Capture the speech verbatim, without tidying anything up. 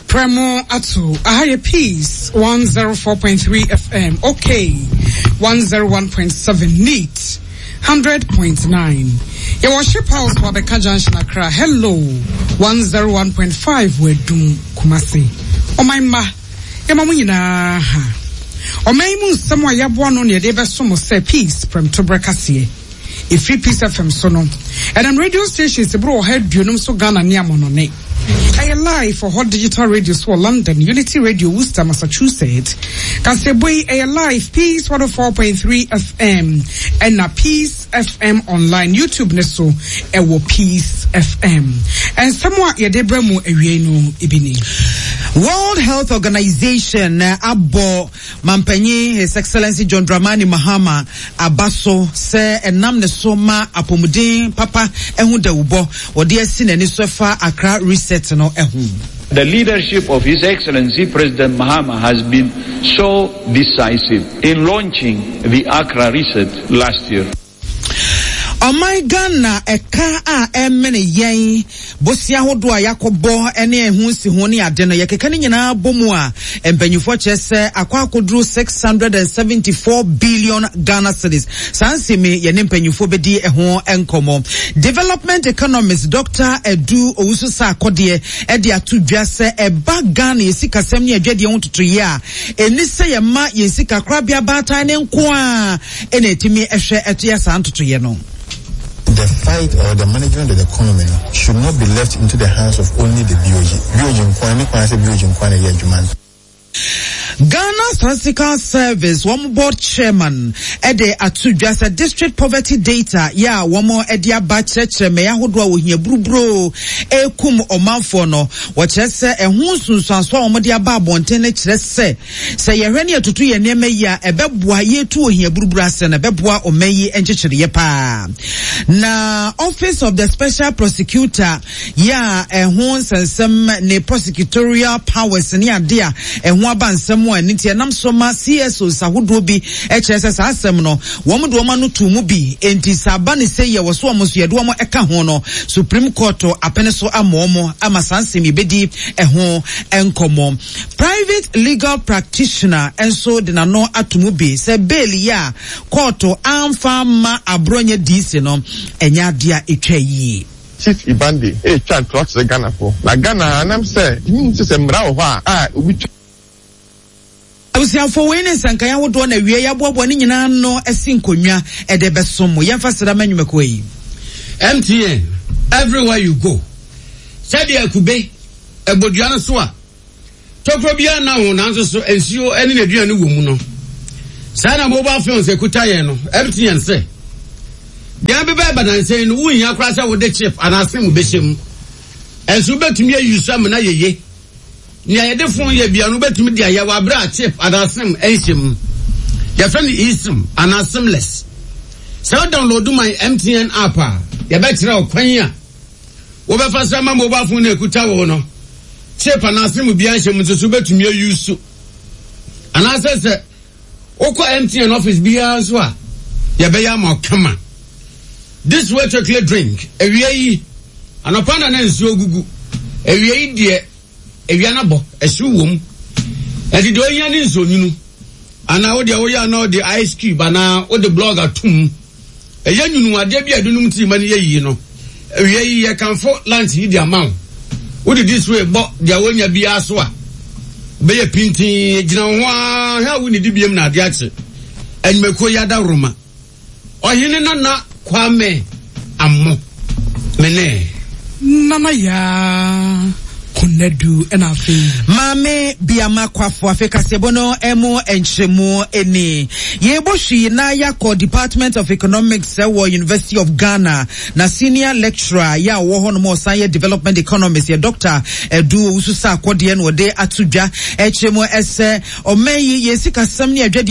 Premo ato aha yɛ Peace one zero four point three F M, okay, one zero one point seven, Neat hundred point nine. Yɛwɔ Ship House wɔ Abɛka Junction, Accra. Hello one zero one point five wɔ Adum, Kumasi. Ɔman mma, yɛma mo nyinaa ha. Ɔman yi mu nsɛm a yɛaboa no na yɛde bɛso mo sɛ Peace Prɛmtoberɛ kaseɛ. Ɛfiri Peace F M so no, ɛnam radio stations boro ɔha aduonum so Ghana ne amɔnɔne. Ɛyɛ live wɔ hɔ digital radio so wɔ London, Unity Radio, Worcester, Massachusetts. Kaseɛbɔ yi ɛyɛ live Peace one oh four point three F M ɛna Peace F M online, YouTube ne so ɛwɔ Peace F M. Nsɛm a yɛde brɛ mu awie no ebi ni. World Health Organization abɔ mampanyin His Excellency John Dramani Mahama aba so sɛ ɛnam ne so ma apɔmuden papa ɛho dawubɔ wɔde asi n'ani so ɛfa Accra Reset no ɛho. The leadership of His Excellency President Mahama has been so decisive in launching the Accra Reset last year. Ɔman Ghana ɛka a ɛmene yɛn, bosia ahodoɔ a yɛakɔbɔ ne ɛho nsi ho ne ade no, yɛkeka no nyinaa bɔ mu a, mpanyinfoɔ kyerɛ sɛ akɔ akɔduru six hundred and seventy four billion Ghana cedis. Saa nsɛm yi, yɛne mpanyinfoɔ bɛdi ɛho nkɔmɔ. Development economist Doctor Edu Owusu Sarkodie ɛde ato dwa sɛ ɛba Ghana yɛ sikasɛm ne adwadeɛ ho totoyɛ a, ɛni sɛ yɛma yɛn sika korabea baatan ne nko a ɛna ɛtumi ɛhwɛ ɛto yɛ saa ntotoyɛ no. The fight or the management of the economy no, should not be left into the hands of only the B O G. B O G nkwan ne kwan sɛ B O G nkwan na ɛyɛ adwuma no. Ghana Statistical Service wɔn board chairman ɛde ato dwa sɛ district poverty data yɛ a wɔn ɛde aba kyerɛkyerɛ mmɛyɛ ahodoɔ a wɔhia buruburo ekum ɔmanfoɔ no, wɔkyerɛ sɛ ɛho nsunsuanso a wɔn de aba abɔnten no kyerɛ sɛ sɛ yɛhwɛ ne yɛtoto yɛn nneɛma yi a, ɛbɛboa yɛtu ohia buruburo ase no, ɛbɛboa ɔman yi nkyekyereɛ paa. Na Office of the Special Prosecutor yɛ a ɛho nsɛnsɛm ne prosecutorial powers ne ade a ɛho aba nsɛm a ɛno nti ɛnam so ma C S Os ahodoɔ bi kyerɛ sɛ saa asɛm no wɔn de wɔn ano to mu bi, nti sɛ aba ne sɛ yɛ wɔ so wɔn nso yɛde wɔn ɛka ho no, Supreme Court apene so ama wɔn ama saa nsɛm yi bɛdi ɛho nkɔmɔ. Private legal practitioner nso de n'ano ato mu bi sɛ bail yi a court amfa ama Abronye D C no, ɛnyɛ adeɛ a ɛtwa yie. Chief Ibande etwa ntorɔ kyerɛ Ghanafoɔ na Ghana anam sɛ tumi sɛ sɛ mmara wɔ hɔ a a obi twa. Abusuafo, wei ne nsankan ahodoɔ na wie yɛaboaboa ne nyinaa no asi nkonnwa ɛde bɛsom mo. Yɛmfa sra ma nnwumakuo yi. M T N, everywhere you go. Sɛdeɛ akube ɛbɔdua no so a tokuro biara na ho, nanso so nsuo ne n'aduane wɔ mu no, saa na mobile phones ekuta yɛn no. M T N sɛ deɛ bɛbɛ ɛba nansɛn no, wonhia koraa sɛ wode chip anaa SIM bɛhyɛ mu, ɛnso wobɛtumi ayi so amena yeye. Nea yɛde phone yɛ bia no, wobɛtumi de ayɛ wɔ abere a chip anaa SIM ɛnhyɛ mu. Yɛfrɛ no eSIM anaa SIMless. Sɛ wo download my M T N app a, yɛbɛkyerɛ wo kwan a wobɛfa so ama mobile phone no ekuta wo no, chip anaa SIM biara nhyɛ mu nso so wobɛtumi ayi so. Anaasɛ sɛ wokɔ M T N office biara nso a, yɛbɛyɛ ama wo kama. This Way chocolate drink, awia yi anɔpa na na nsuo gugu awia yi deɛ, awia no bɔ ɛhyew wɔ mu, ɛnti deɛ ohia ne nsuo nwunu anaa wode woyɛ anaa wode ice cube anaa wode block atum, ɛyɛ nwunu adeɛ bi a ɛde nom tii ma no yɛ yie no. Awia yi yɛkamfo lunch yi de ama wo. Wode This Way bɔ deɛ wonya biara so a, bɛyɛ pintin gyina wo ho ara hwɛ a wonnidi biem na adeɛ akye. Anwumakuo yi adaworoma, Ɔhene Nana Kwame Ammo mene. Nana Yaa Konadu, ɛna afei Maame Biama Kwafo. Afei kaseɛbɔ no ɛmu nkyerɛmu ani yɛbɔ hwii na yɛakɔ Department of Economics ɛwɔ University of Ghana, na senior lecturer yɛ a wɔwɔ hɔ nom a ɔsan yɛ development economist yɛ Doctor Edu Owusu Sarkodie na ɔde ato dwa ɛkyerɛ mu ɛsɛ ɔman yi yɛn sikasɛm ne adwadeɛ.